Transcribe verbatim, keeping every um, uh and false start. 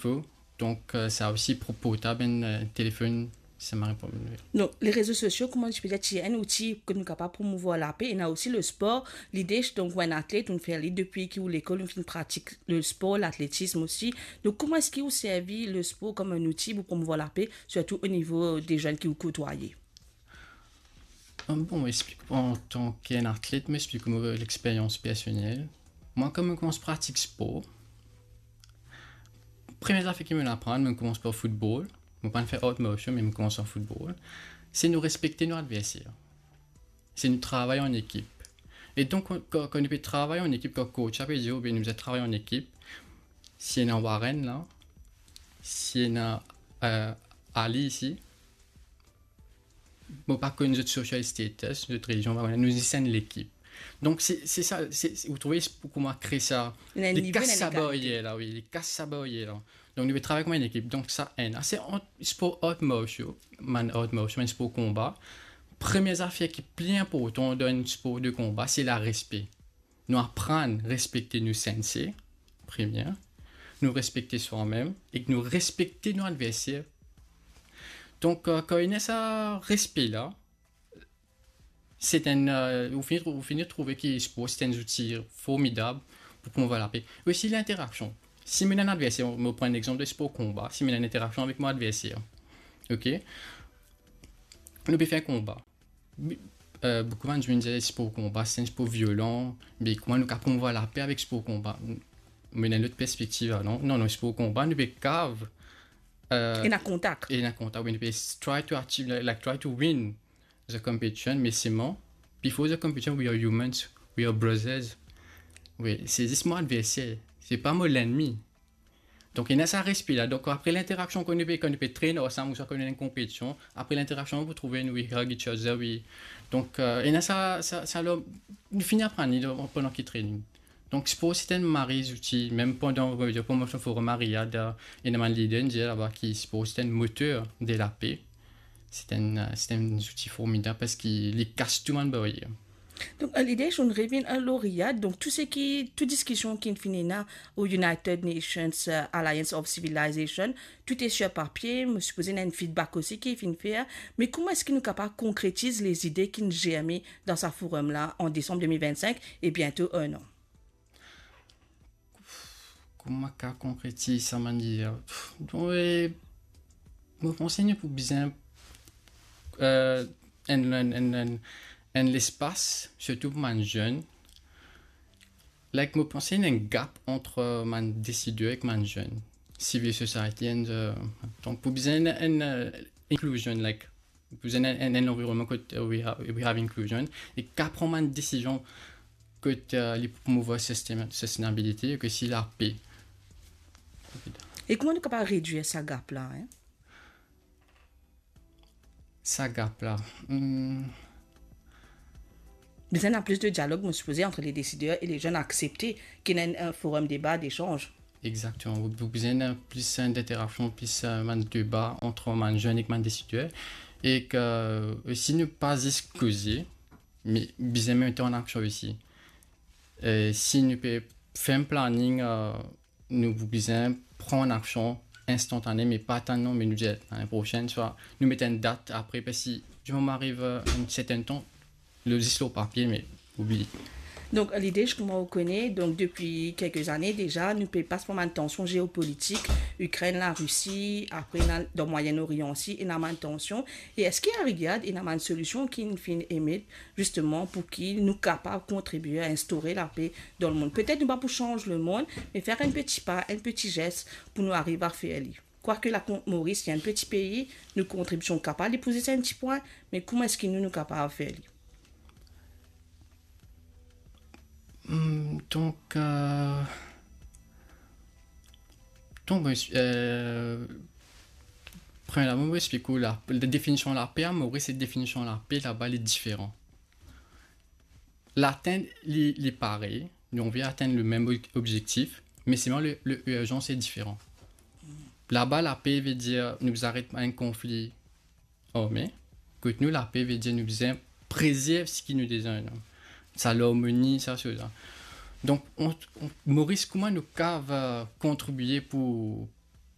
fo. Donk, euh, sa osi pou portab enn, euh, telefonn, sa mari pou nouvèl. Donc, les réseaux sociaux, comment je peux dire, c'est un outil que nous sommes capables de promouvoir la paix. Il y a aussi le sport, l'idée, donc, un athlète, on fait aller depuis qu'il l'école, on fait une pratique, le sport, l'athlétisme aussi. Donc, comment est-ce que vous servez le sport comme un outil pour promouvoir la paix, surtout au niveau des jeunes que vous côtoyez ? Ah, bon, mo explik an tan ki enn atlet, mo explik mo lexperyans personel. Mwa, kan mo koumans pratik spor, premie zafer ki mo aprann, mo koumans par football. Mo pa fer art martial, me mo koumans ar football. Se nou respekte nou adverser. Se nou travay an ekip. E donk, kan, kan, kan nou pe travay an ekip, kan coach la pe dir, "Oubien nou bizin travay an ekip." Si ena Warren la, si ena, euh, Ali isi, mo pa konn zot social status, zot relizion, pa konn, nou zis enn lekip. Donk, se, se sa, se, se, ou trouve, se pou kouma kre sa, Ena enn li nivo, kas ena sa legalite. Baryer la, wi, li kas sa Baryer la. Donk, nou pe travay kouma enn ekip. Donk, sa, enn, se ant spor art martial, bann art martial, bann spor konba. Premie zafer ki pli inportan dan enn spor de konba, se larespe. Nou aprann respekte nou sensei, premie. Nou respekte swa-mem ek nou respekte nou adverser. Donk, euh, kan ena sa respe la, se enn, euh, ou fini, ou fini trouve ki spor se enn zouti formidab pou promouvoir lape. Osi, linteraksion. Si mo ena enn adverser, mo pran enn exanp de spor konba, si mo ena enn interaksion avek mo adverser, ok? Nou pe fer konba. Euh, boukou bann dimoun dir spor konba, se enn spor violan, me kouma nou kapav promouvoir lape avek spor konba? Mo ena enn lot perspektiv, alor. Non, non, spor konba, nou pe kapav, euh, Ena kontak. ena kontak, wi, nou pe try to achieve, like, like, try to win the competition, me selman, before the competition, we are humans, we are brothers. Wi, se zis mo adverser, se pa mo lennmi. Donk, ena sa respe la. Donk, apre linteraksion, kan nou pe, kan nou pe train ansam, ouswa kan nou ena enn konpetision, apre linteraksion, pou trouve nou, we hug each other, wi. Donk, euh, ena sa, sa, sa, la, nou fini aprann li dan, pandan ki training. Donk, spor, se enn mari zouti, mem pandan, euh, pandan forum a Riyad, euh, ena bann lider inn dir laba ki spor, se enn moter de lape. Se enn, euh, se enn zouti formidab parski li kas tou bann baryer. Donc, euh, l'idée, je reviens à Riyad. Donc, tout ce qui, toute discussion qui finit là au United Nations, euh, Alliance of Civilization, tout est sur papier. Je suppose qu'il y a un feedback aussi qui est fait. Mais comment est-ce que nous sommes capables de concrétiser les idées qui nous germent dans ce forum-là en décembre deux mille vingt-cinq et bientôt un an ? Kouma ka konkretiz sa, bann lide? Donk, euh, mo panse nou pou bizin, euh, enn, enn, enn, enn, enn lespas, sirtou pou bann zenn. Like, mo panse ena enn gap ant, euh, bann desider ek bann zenn. Civil society and, euh, donk, pou bizin enn, enn, euh, inclusion, like, pou bizin enn, enn, enn lanvironnman kot, euh, we have, we have inclusion, e ki pran bann desizion kot, euh, li pou promouvoir sustain-, sustainability, e osi lape. E kouma nou kapav redwir sa gap la, hein? Sa gap la. Hmm. Bizin ena plis de dialog, mo sipoze, ant les décideurs et les jeunes, aksepte ki ena enn, enn forum deba, desanz. Exactement. Ou, ou bizin ena plis, euh, d'interaksion, plis, euh, bann deba ant bann zenn ek bann desider. E ki, euh, si nou pa zis koze, me bizin met an aksion osi. Euh, si nou pe fer enn planning, euh, nou bizin pran aksion instantane, me pa tann non, me nou dir lane prosenn, swa nou met enn dat apre, parski di moman ariv, euh, enn sertenn tan, li zis lor papie, me oublie. Donc, l'idée, je comprends, on connaît, donc depuis quelques années déjà, nou pe pas par une tension géopolitique, Ukraine, la Russie, après, dans, dans le Moyen-Orient aussi, il y a une tension. Et est-ce qu'il y a, regarde, il y a une solution qui nous fait aimer, justement, pour que nous capables de contribuer à instaurer la paix dans le monde? Peut-être pas pour changer le monde, mais faire un petit pas, un petit geste pour nous arriver à faire li. Quoique la con-, Maurice, c'est un petit pays, nos contributions capables de poser un petit point, mais comment est-ce que nous, nous capables de faire li? Hmm, donk, euh, donk, euh, premierman, mo explik ou la, la definision lape a Moris ek definision lape laba, li diferan. Latenn, li, li parey, nou, nou pe atenn le mem ob-, objektif, me selman le, le irzans li diferan. Laba, lape ve dir nou aret enn konfli arme, kot nou, lape ve dir nou bizin prezerv seki nou deza ena. Sa larmoni, sa, sa, sa. Donk, on, on, Moris, kouma nou kapav, euh, kontribie pou,